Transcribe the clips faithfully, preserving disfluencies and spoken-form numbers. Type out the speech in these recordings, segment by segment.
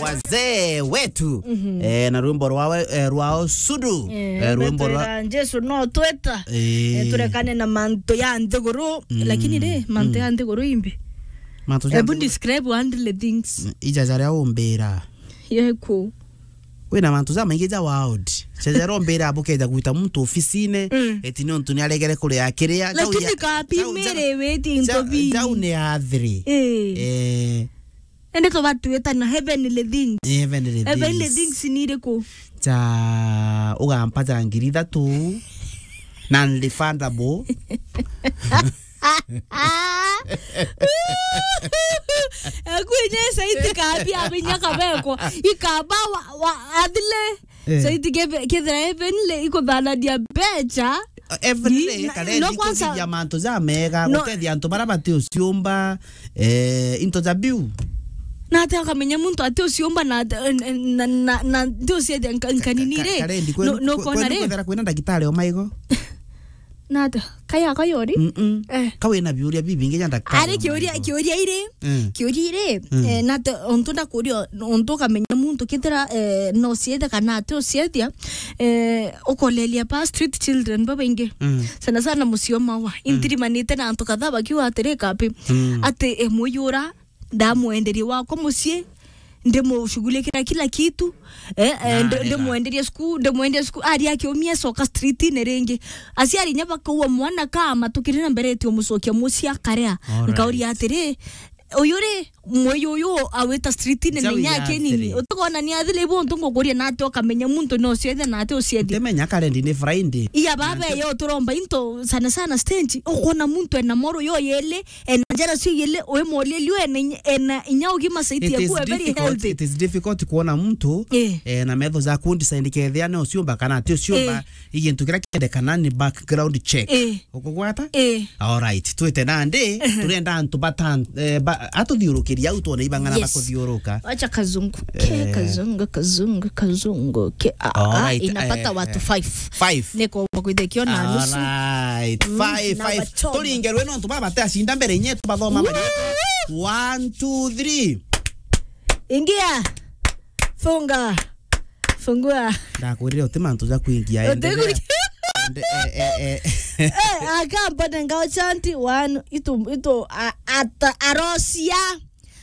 Wazee wetu. Mhm. Eh, na rwimbo rwawe, eh, rwao Sudu. Eh, eh, rwimbo rwa betwira Jesu no tweta. Eh. Eh, turekane na mantu ya nthiguru. Mm. Lakini ri, mantu, mm, ya nthiguru imbi? Mantu ja nthiguru. Ebu describe one little things. Ija jaria umbira. Yeku. Wina mantu jamaingi ja world. Jaria umbira bukeja gwita muntu ofisine, mm, eti ni untu ni aregere kuria kiria. Lakini kapi mere weti into bi. Jau ni athiri. Eh. Eh. Ende tubatwita na heavenly things. Heavenly things. Heavenly things ni iriku? Ja ugampa ja ngiri ithatu, non-refundable. Ekwinya saiti kabi abinya kabekwa. Ikaba wa, wa, athile. Eh. Saiti kebe-, kethira heavenly ikuthanania mbecha. Heavenly, ni-, na-, karendi no kwanza kuthithia mantu ja mega, no, gutethia antu bara bati uciumba, eh, into ja biu. Na ati ukamenya muntu ati uciumba na ati, na, na, na, na nti uciethia nka-, nkanini ri? Ka-, ka-, karendi kwe-, no, no kwe-, kona kwe-, ri? Kwethira kwina ndagitari o maigo. Na ati, kaya, kaya uri? Mm-mm. Eh. Ka wina biuria bibingi ja ndagitari o maigo. Ari kiuria, kiuria iri, mm, kiuria iri, mm, eh, na ati, untu ndakuria, untu ukamenya muntu kethira, eh, no uciethia kana ati uciethia, eh, ukolelia pa street children babaingi. Mm. Sana sana mucii o Maua. Mm. Intirimanite na antu kadhaa bakiuga atiri kapi. Mm. Ati, eh, muyura, ndamwenderia wakwa mucii, ndimushughulikira kila kitu, eh, eh, na ndi-, arega. Ndimwenderia sukuru, ndimwenderia sukuru, ari akiumia acoka streetine ringi. Aciari inya bakaua mwana kama tukiri na mbere eti umucokia mucii akarea. Alright. Nkauria atiri, uyu ri, mwei uyu awita streetine na inya akinini. Utikona ni athile ibu untu ngukuria na ati ukamenya muntu no uciethe na ati uciethia. Ndimenya karendi ni Friday. Iya baba yo turomba into sana sana stage. Ukona muntu ena moro yo yele, ena njara cio yele, wi molielio ena inya, ena inya ugima saiti yaku very healthy. It is difficult kuona muntu, eh, eh, na metho jaku design kethia ni uciumba kana ati uciumba. Eh. Igintu kiria kiendekana ni background check. Eh. Ukugwata? Eh. Alright, twite nandi, eh, turenda antu batan-, eh, ba-, atuthiurukiria au twone ibang'ana, yes, bakuthiuruka. Acha kazungu. Ke, eh, kazungu, kazungu, kazungu. Ke, ah, ah, alright, inapata, eh, watu, eh, five. Five. Niko kwithikio na nusu. Alright, mm, five, na five. Wachoma. Turinge rwe nontu baba te acinda mbere inye tubathoma. Woo! Bari. One, two, three. Ingia. Funga. Fungua. Ndakwirire uti mantu ja kuingia. Uti endelea. Kuingia. Ende-, eh, eh, eh. Eh, akambone ngao chanti, one, itu, itu, a-, ata-, arocia.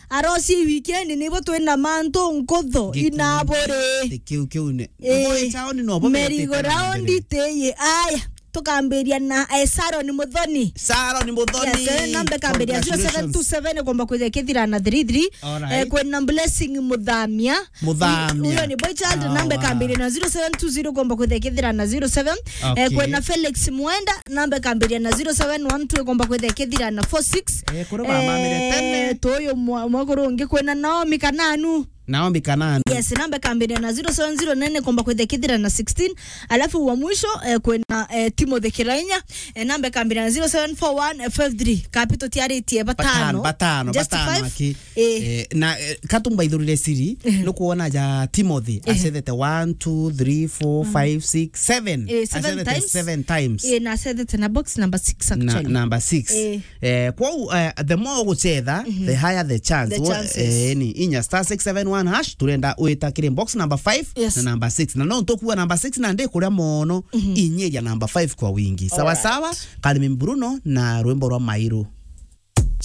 Arocia i weekend, nibo twina mantu nkutho, inaburi. Kiu, kiu ni. Eh, boy town no bo merry go round teye. Aya. Tukambiria na, eh, Sharon Muthoni. Sharon Muthoni. Yes, eh, namba ikambiria zero seven two seven, congratulations. Ikomba kwithia ikithira na three three. Alright. Eh, kwina Blessing Muthamia. Muthamia. Huyo ni boy child, namba ikambiria na zero seven two zero, ikomba kwithia ikithira na zero seven. Eh, okay. Kwina Felix Mwenda, namba ikambiria na zero seven one two, ikomba kwithia ikithira na four six. Eh, kuri ba mamire tene. Eh, tuyu mwa-, mwakuru ungi kwina Naomi Kananu. Naomi Kananu. Yes, namba ikambiria na zero seven zero nine, ikomba kwithia ikithira na sixteen. Alafu wa mwisho, eh, kwina, eh, Timothy Kirainya, eh, namba ikambiria na zero seven four one five three. Kapi tutiaritie batano. Batano, batano, just batano five. Aki. Eh. Eh, na, eh, katumbaithurire siri, eh, nukwona ja Timothy, eh, acethete one, two, three, four, mm, five, six, seven. Eh, seven times. Acethete seven times. Eh, na acethete na box number six, na, actually, number six. Eh. Eh, kwou, eh, the more ugucetha, mhm, the higher the chance. The chances. Eh, ni inya star six seven one hash, turenda wita kiri box number five, yes, na number six. Na no ntukuwa number six na ndi kuria mono, mhm, inyeria number five kwa wingi. Sawa, alright, sawa, Calvin Bruno na rwimbo rwa Mairu.